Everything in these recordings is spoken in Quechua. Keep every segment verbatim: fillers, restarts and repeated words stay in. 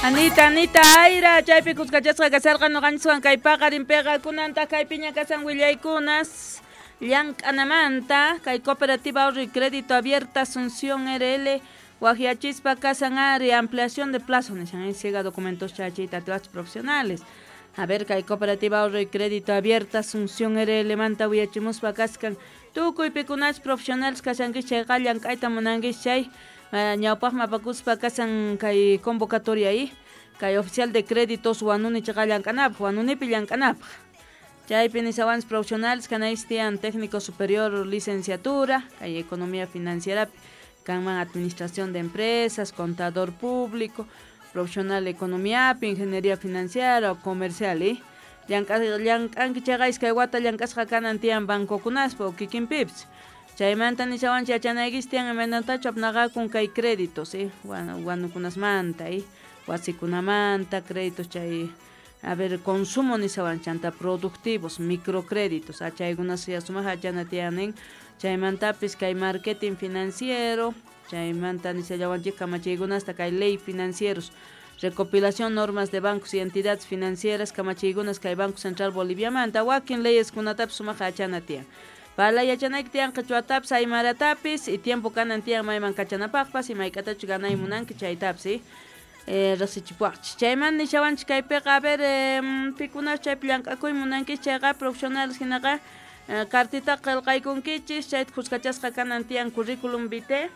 Anita, Anita, Aira, chaypi kuskachasqa kasarqa ñuqanchiswan kay paqarinpiqa kunantaq kaypiña kasan willaykunas llank'anamanta kay Cooperativa Ahorro y Crédito Abierta Asunción R L waqyachispa kasan ari ampliación de plazo nishan ciega documentos chachita atiwachis profesionales. A ver, kay Cooperativa Ahorro y Crédito Abierta Asunción R L manta willachimuspa kaskan tukuy pikunachus profesionales kashankichis chayqa llank'ayta munankichis chay ñawpaqman apakuspa kasan kay convocatoria ahí kay oficial de créditos Huanuni chaqa llank'anapaq Huanunipi llank'anapaq chaypi nisawanchis profesionales kanaychis tiyan técnico superior licenciatura kay economía financiera kanman administración de empresas contador público profesional economía ingeniería financiera o comercial eh llank'anki chayqa iskay wata llank'asqa kanan tiyan bancokunaspa o kikinpipis chaymanta nisawanchis yachanaykichis tiyan imaynatachu apnaqakun kay créditos eh wanukunasmanta eh wasikunamanta créditos chay a ver consumo nisawan chanta productivos microcréditos chaykunas sumaq yachana tiyan chaymantapis kay marketing financiero chaymanta nisallawanchik kamachiykunasta kay ley financieros recopilación normas de bancos y entidades financieras kamachiykunas kay Banco Central Boliviamanta wakin leyes kunatapis sumaq yachana tiyan Pala yachanayki tiyan qichwatapis aymaratapis y tiempo kanan tiyan mayman kachanapaqpas y mayk'atachu ganay munanki chaytapis eh riqsichipuwaqchis chayman nishawanchis kaypiqa a ver eh, pikunachu chaypi llank'akuy munankichis chayqa profesionales hinaqa cartitaqa qillqaykunkichis chayta kuskachasqa kanan tiyan currículum vitae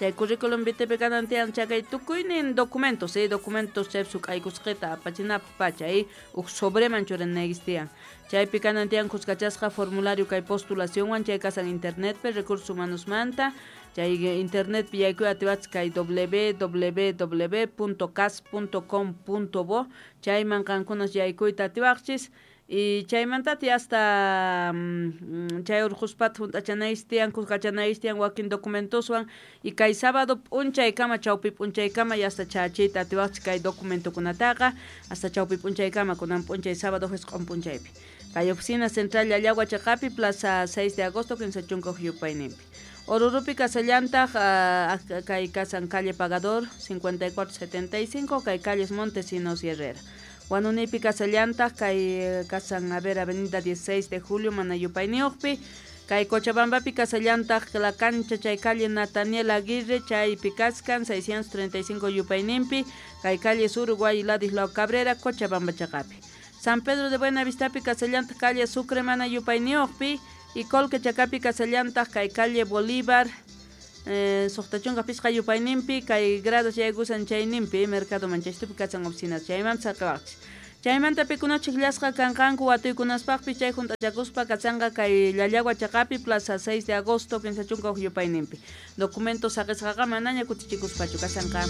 chay currículum vitae kanan tiyan chakay tukuynin documentos eh documentos chaypi suk'aykusqita apachinapaq pacha eh huk sobreman churanaykichis tiyan chaypi kanan tiyan kuskachasqa formulario kay postulacionwan chay kasan internetpi recursos humanosmanta chay internetpi yaykuy atiwachis kay w w w punto cas punto com punto bo chayman qankunas yaykuyta atiwaqchis y chaymantati hasta chay urquspata hunt'achanaychis tiyan kuskachanaychis tiyan wakin documentoswan y kay sábado p'unchaykama chawpi p'unchaykama y hasta chachiyta atiwaqchis kay documentokunataqa hasta chawpi p'unchaykama kunan p'unchay sábado jisq'un p'unchaypi kay oficina central Llallagua chaqapi plaza seis de agosto kinsa chunka huk yupayninpi Orurupi kasallantaq kay kasan calle Pagador cincuenta y cuatro setenta y cinco kay calles Montesinos y Herrera Huanunipi kasallantaq kay kasan a ver avenida dieciséis de julio manayupayniyuqpi kay Cochabambapi kasallantaq la cancha chay calle Nataniel Aguirre chaypi kaskan seiscientos treinta y cinco yupayninpi kay calle Uruguay Ladislao Cabrera Cochabamba chaqapi San Pedro de Buenavistapi kasallantaq calle Sucre manayupayniyuqpi y Colque chaqapi kasallantaq kay calle Bolívar Eh, suqta chunka pishqa yupayninpi kay grados yaykusan chayninpi mercado manchaystupi kasan oficinas chaymanta saqawaqchis chaymanta pikunachik llasqa kanqanku watuykunaspaqpis chay hunt'achakuspa kasanqa kay Llallagua chaqapi plaza seis de agosto kinsa chunka huk yupayninpi documentos saqisqaqa manaña kutichikuspachu kasanqa.